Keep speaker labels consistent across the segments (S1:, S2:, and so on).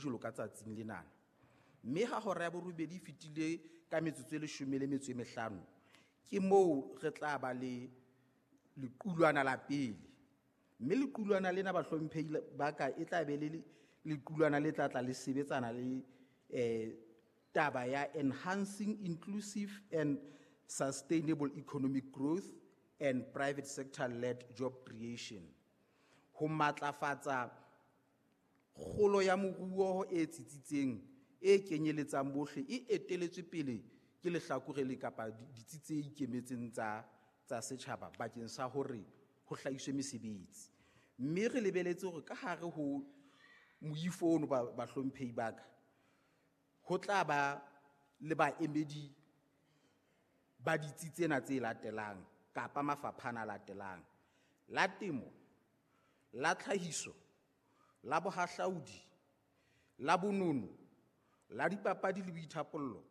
S1: jwalo ka tsatsing lenana. Mme ha hora ya borobedi e fetile ka metsotso e leshome le metso e mehlano, ke moo re tla ba le lequlwana la pele. Mme lequlwana lena bahlomphehi ba ka e tla be le lequlwana le tla tla le sebetsana le taba ya enhancing inclusive and sustainable economic growth and private sector led job creation. Ho matlafatsa kgolo ya moruo e tsitsitseng e kenyeletsang bohle e eteletswe pele ke lehlakore le kapa ditsi tse ikemetseng tsa setjhaba bakeng sa hore ho hlahiswe mesebetsi. Mme re lebeletse hore ka hare ho moifo ono bahlomphehi ba ka, ho tla ba le baemedi ba ditsi tsena tse latelang kapa mafapha ana a latelang: la temo, la tlhahiso, la bohahlaudi, la bonono, la dipapadi le boithapollo,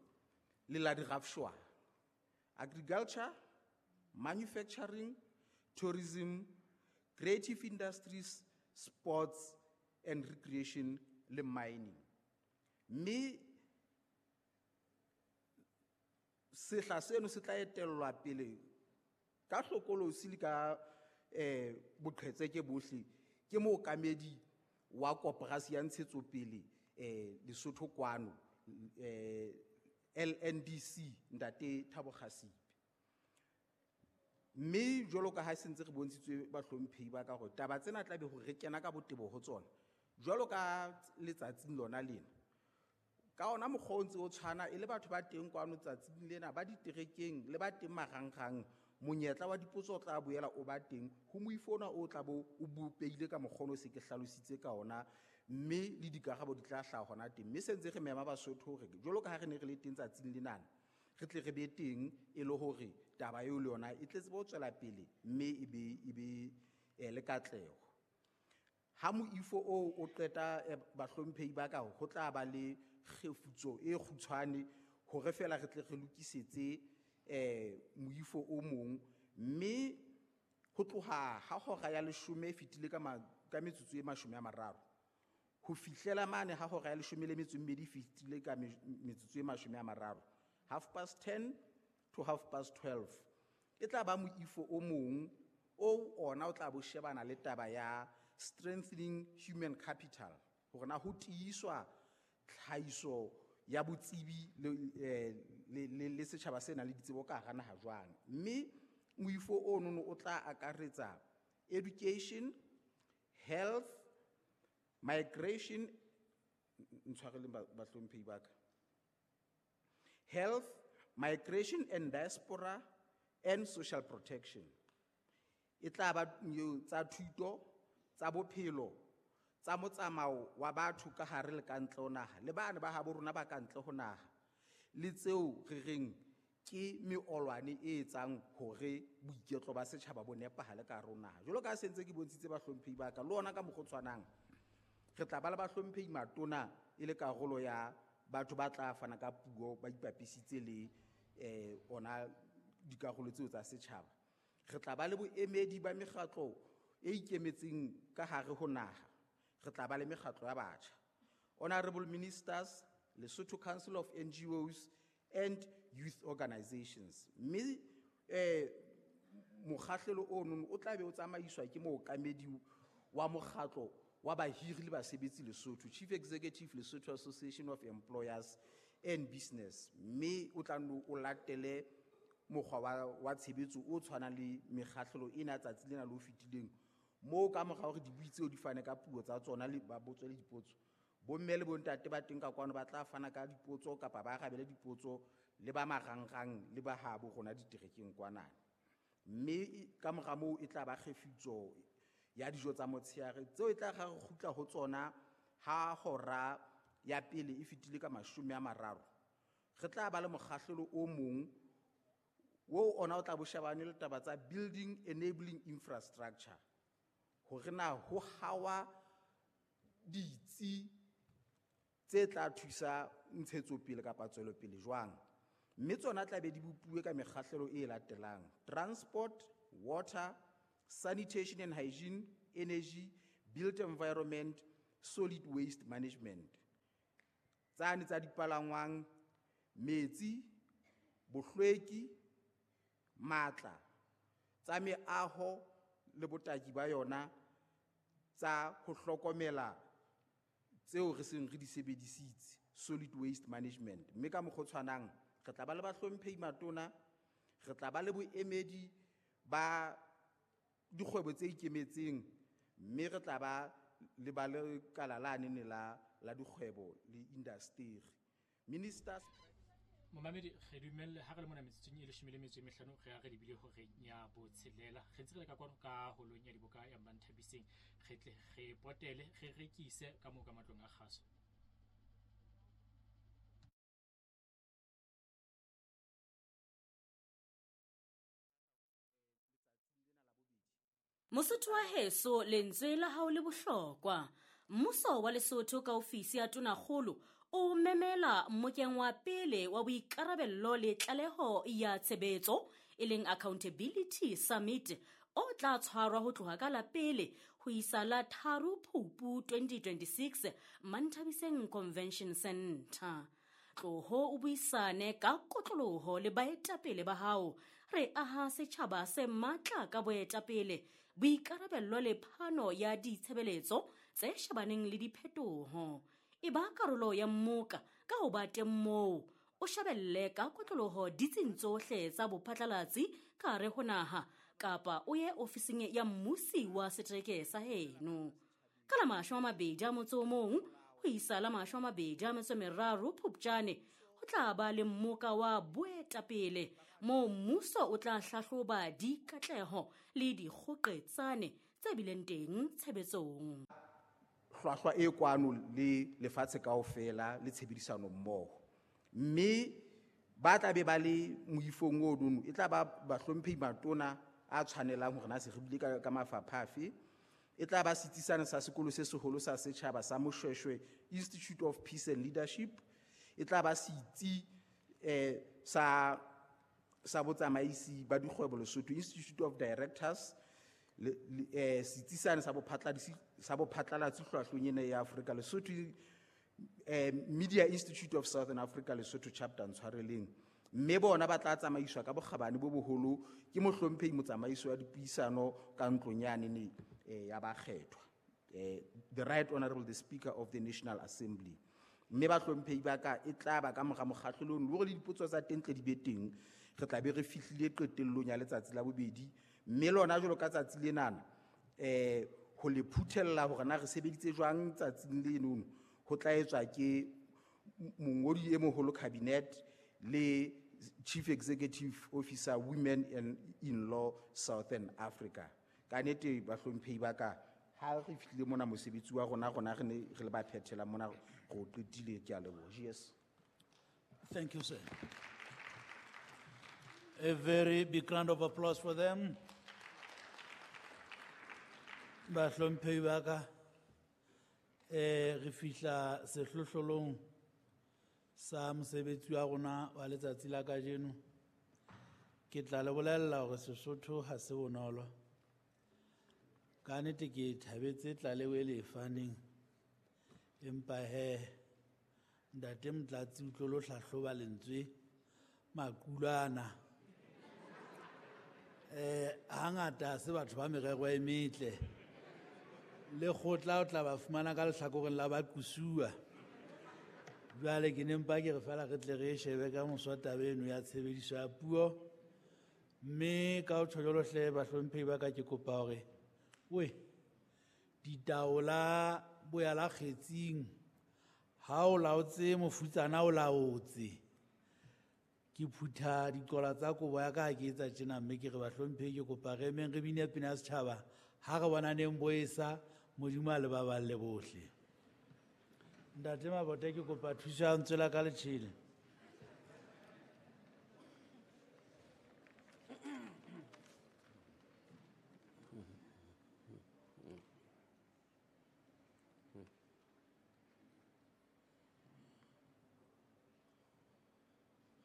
S1: le la dirafshwa. Agriculture, manufacturing, tourism, creative industries, sports and recreation le mining. Mme sehla seno se tla etellwa pele ka hlokolosi le ka boqhetseke bohle ke mookamedi wa koporasi ya ntshetsopele Lesotho kwano, LNDC, Ntate Thabo Kgasipe. Mme jwalo ka ha se ntse re bontshitswe bahlomphehi ba ka hore taba tsena tla be hore re kena ka botebo ho tsona jwalo ka letsatsing lona lena. Ka ona mokgwa o ntse o tshwana e le batho ba teng kwano tsatsing lena, ba diterekeng le ba teng marangrang, monyetla wa dipotso o tla boela o ba teng ho moifo ona o tla bo o bopehile ka mokgwa ono se ke hlalositse ka ona, mme le dikarabo di tla hlaha hona teng. Mme se ntse re mema Basotho hore jwalo ka ha re ne re le teng tsatsing lenana, re tle re be teng e le hore taba eo le yona e tle tsebe ho tswela pele mme e be le katleho. Ha moifo oo o qeta, bahlomphehi ba ka, ho tla ba le kgefutso e kgutshwane hore feela re tle re lokisetse moifo o mong. Mme ho tloha ha hora ya leshome e fetile ka metsotso e mashome a mararo ho fihlela mane ha hora ya leshome le metso e mmedi e fetile ka metsotso e mashome a mararo, 10:30 to 12:30, e tla ba moifo o mong o ona o tla bo shebana le taba ya strengthening human capital, hore na ho tiiswa tlhahiso ya botsebi le setjhaba se nang le ditsebo ka hara naha jwang. Mme moifo ono o tla akaretsa education, health, migration, ntshwareleng bahlomphehi ba ka, health, migration and diaspora and social protection. E tla ba tsa thuto, tsa bophelo, tsa motsamao wa batho ka hare le ka ntle ho naha, le bana ba habo rona ba ka ntle ho naha, le tseo re reng ke meolwane e etsang hore boiketlo ba setjhaba bo nepahale ka hare ho naha. Jwalo ka ha se ntse ke bontshitse bahlomphehi ba ka, le ona ka mokgwa o tshwanang re tla ba le bahlomphehi matona e le karolo ya batho ba tla fana ka puo ba ipapisitse le ona dikarolo tseo tsa setjhaba. Re tla ba le boemedi ba mekgatlo e ikemetseng ka hare ho naha. Re tla ba le mekgatlo ya batjha, Honorable Ministers, Lesotho Council of NGOs and Youth Organizations. Mme mokgahlelo ono o tla be o tsamaiswa ke mookamedi wa mokgatlo wa bahiri le basebetsi Lesotho, Chief Executive Lesotho Association of Employers and Business. Mme o tla nno o latele mokgwa wa tshebetso o tshwanang le mekgahlelo ena tsatsi lena le o fetileng, moo ka mora hore dibui tseo di fane ka puo tsa tsona le ba botswe le dipotso, bomme le bontate ba teng ka kwano ba tla fana ka dipotso kapa ba arabele dipotso le ba marangrang le ba habo rona diterekeng kwanana. Mme ka mora moo e tla ba kgefutso ya dijo tsa motshehare tseo e tla re kgutla ho tsona ha hora ya pele e fetile ka mashome a mararo. Re tla ba le mokgahlelo o mong o ona o tla bo shebane le taba tsa building enabling infrastructure, hore na ho hawa ditsi tse tla thusa ntshetsopele kapa tswelopele jwang. Mme tsona tla be di bopuwe ka mekgahlelo e latelang: transport, water, sanitation and hygiene, energy, built environment, solid waste management. Tsane tsa dipalangwang, metsi, bohlweki, matla, tsa meaho le botaki ba yona, tsa ho hlokomela tseo re seng re di sebedisitse, solid waste management. Mme ka mokgwa o tshwanang re tla ba le bahlomphehi matona, re tla ba le boemedi ba dikgwebo tse ikemetseng, mme re tla ba le ba lekala la nene la dikgwebo le indasteri. Ministers
S2: Momamedi, re dumelle ha re le mona metsotsong e 15 re ya re lebile horeng ya botshelela. Re ntse re le ka kwano ka holong ya diboka ya Manthabiseng, re tle re potele re rekise ka moo ka matlong a kgaso.
S3: Mosotho wa heso, lentswe la hao le bohlokwa. Mmuso wa Lesotho ka ofisi ya Tonakgolo o memela mmokeng wa pele wa boikarabello le tlaleho ya tshebetso, e leng Accountability Summit, o tla tshwarwa ho tloha ka la pele ho isa la 3 Phupu 2026 Manthabiseng Convention Center. Tloho o buisane ka kotloloho le baetapele ba hao. Re aha setjhaba se matla ka boetapele, boikarabello le phano ya ditshebeletso tse shebaneng le diphetoho. E ba karolo ya mmoka ka ho ba teng moo, o shebelle ka kotloloho ditsing tsohle tsa bophatlalatsi ka hare ho naha, kapa o ye ofising ya mmusi wa setereke sa heno. Ka la 21 ho isa la 23 Phupjane, ho tla ba le mmoka wa boetapele moo mmuso o tla hlahloba dikatleho le dikgoqetsane tse bileng teng tshebetsong.
S1: Hlwahlwa e kwano le lefatshe kaofela le tshebedisano mmoho. Mme ba tla be ba le moifong o nono, e tla ba bahlomphehi matona a tshwanelang hore na se re bile ka mafapha afe. E tla ba setsi sane sa sekolo se seholo sa setjhaba sa Moshoeshoe Institute of Peace and Leadership. E tla ba setsi sa botsamaisi ba dikgwebo Lesotho Institute of Directors, setsi sane sa bophatlalatsi hlwahlweng ena ya Afrika Lesotho, Media Institute of Southern Africa Lesotho Chapter ntshwareleng. Mme bona ba tla tsamaiswa ka bokgabane bo boholo ke mohlomphehi motsamaisi wa dipuisano ka ntlong yane ne ya bakgethwa, the Right Honorable the Speaker of the National Assembly. Mme bahlomphehi ba ka, e tla ba ka mora mokgahlelo ono, le hore le dipotso tsa teng tle di be teng, re tla be re fihlile qetellong ya letsatsi la bobedi. Mme lona jwalo ka tsatsi lenana, ho le phuthella hore na re sebeditse jwang tsatsing lenono, ho tla etswa ke mongodi e moholo cabinet le Chief Executive Officer Women and in Law Southern Africa. Ka nnete bahlomphehi ba ka, ha re fihlile mona mosebetsi wa rona, rona re ne re le ba phethela mona, re o qetile. Ke a leboha. Yes.
S4: Thank you, sir. A very big round of applause for them. Bahlomphehi ba ka, re fihla sehlohlolong sa mosebetsi wa rona wa letsatsi la kajeno. Ke tla le bolella hore Sesotho ha se bonolo. Ka nnete ke thabetse tlaleho e le e faneng, empa he ntate Motlatsi o tlo lo hlahloba lentswe makulana. Hangata ha se batho ba merero e metle. Lekgotla o tla ba fumana ka lehlakoreng la baqusuwa. Jwale ke ne mpa ke re feela re tle re e shebe ka moso taba eno ya tshebediso ya puo. Mme ka ho tjho jwalo hle bahlomphehi ba ka, ke kopa hore we ditaola boya la kgetsing, ha o laotse mofutsana o laotse. Ke phutha diqola tsa kobo ya ka ha ke etsa tjena, mme ke re bahlomphehi ke kopa re emeng re bine pina ya setjhaba ha re bonaneng bo esa, Modimo a le baballe bohle. Ntate Mabote, ke kopa thuso ya ntswe la ka letjhele.